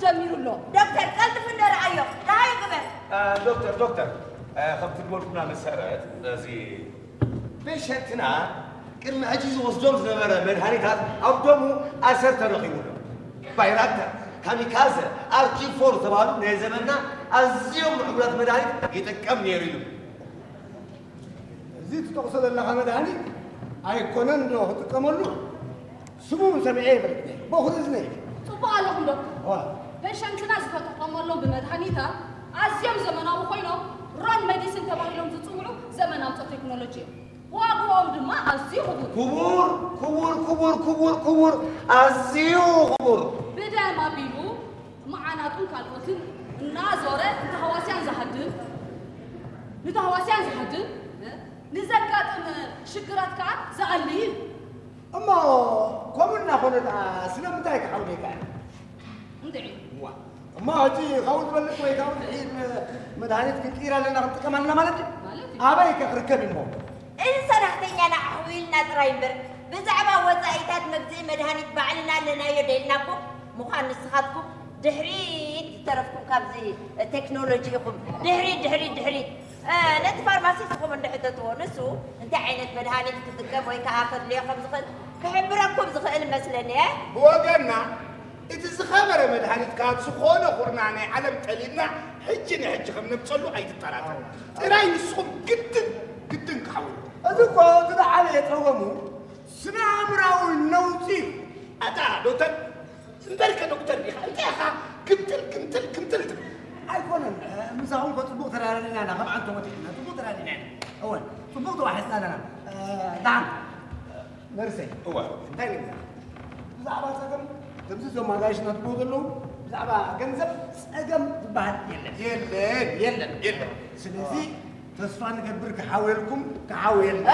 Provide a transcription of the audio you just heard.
ጀሚሩ ኣሎ። ዶክተር ቀልጥፍ እንደ ረኣዮ ደሃይ ግበር። ዶክተር ዶክተር፣ ከምቲ ዝበልኩና መሰረት እዚ ፔሸንትና ቅድሚ ሕጂ ዝወስዶም ዝነበረ መድሃኒታት ኣብ ደሙ ኣሰር ተረኺቡ ኣሎ። ባይራክተር፣ ካሚካዘ፣ ኣርኪፎር ዝተባህሉ ናይ ዘመንና ኣዝዮም ምዕቡላት መድሃኒት ይጥቀም ነይሩ እዩ። እዚ ትጠቕሶ ዘለኻ መድሃኒት ኣይኮነን ዶ ክጥቀመሉ? ስሙ እውን ሰሚዐ ይፈልጥ ነይሩ። በኹሪ እዝነይ እዩ። ጽቡቕ ኣለኹም ዶክተር። ዋ፣ ፔሸንትና ዝተጠቐመሎም ብመድሃኒታት ኣዝዮም ዘመናዊ ኮይኖም ሮን ሜዲሲን ተባሂሎም ዝጽውዑ ዘመን ኣውፅኦ ቴክኖሎጂ እዮም። ዋግኦም ድማ ኣዝዩ ክቡር። ክቡር ክቡር ክቡር ክቡር ክቡር ኣዝዩ ክቡር። ብደም ኣቢሉ መዓናጡን ካልኦትን እናዞረ ንተሃዋስያን ዝሃድን ንተሃዋስያን ዝሃድን ንዘጋጥም ሽግራት ከዓ ዝኣሊ እዩ። እሞ ከምኡ እናኾነ ደኣ ስለምንታይ ክሓውል ይከኣል? እንድዒ እዋ እሞ ሕጂ ካብኡ ዝበልጽ ወይ ካብኡ ዝሕይል መድሃኒት ክንቅይር ኣለና ክንጥቀም ኣለና ማለት እዩ። ማለት እዩ። ኣበይ ከ ክርከብ እሞ? እዚ ሰራሕተኛና ኣሕዊልና ጥራይ እምበር ብዛዕባ ወፃኢታት መግዝኢ መድሃኒት ባዕልና ኣለናዮ ደልናኩም ምዃን ንስኻትኩም ድሕሪት ዝተረፍኩም ካብዚ ቴክኖሎጂ ኢኹም። ድሕሪት ድሕሪት ድሕሪት ነቲ ፋርማሲስትኹም እንድሕተትዎ ንሱ እንታይ ዓይነት መድሃኒት ክጥቀም ወይ ከዓ ከድልዮ ከም ዝኽእል ክሕብረኩም ዝኽእል መስለኒ። ብወገንና እቲ ዝኸበረ መድሃኒት ካብ ዝኾነ ኩርና ናይ ዓለም ጠሊብና ሕጂ ንሕጂ ከም ነምፀሉ ኣይትጠራጠር። ጥራይ ንስኹም ግድን ግድን ክሓውልኩም። እዚ እኮ እቲ ዝዓበየ ፀገሙ ስነ ኣእምራዊ ነውፂ እዩ። ኣታ ዶክተር እምበርከ ዶክተር ዲኻ እንታይ ኢኻ ግምጥል ግምጥል ግምጥል ትብል? ኣይኮነን ምሳኹም እኮ ፅቡቕ ተራዳዲና ኢና ከም ዓንቶ ወዲሕና ፅቡቕ ተራዲና ኢና። እወን ፅቡቕ ተዋሒስና ኣለና። ደሓን ነርሰይ እዋ እንታይ ንብላ? ብዛዕባ ፀገም ከምዚ እዞም ኣጋይሽና ትብሉ ዘለዉ ብዛዕባ ገንዘብ ፀገም ዝበሃል የለን። የለን የለን የለን። ስለዚ ተስፋ ንገብር ክሓውየልኩም ክሓውየልና።